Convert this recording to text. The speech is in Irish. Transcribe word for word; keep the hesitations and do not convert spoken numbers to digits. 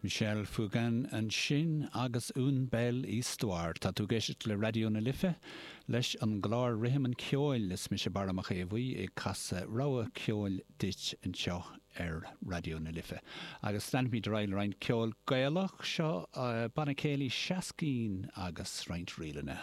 Michel Fugain ansin agus Une Belle Histoire. Tá tú ag éisteacht le Raidió na Life leis an gclár Rithim an Cheoil. Is mise Barra Mac Aodha Bhuí ag casadh rogha ceoil duit anseo ar Raidió na Life. Agus leanfaimid ar aghaidh le roinnt ceol Gaelach. Seo uh, banna céilí Seascín agus roinnt ríleanna.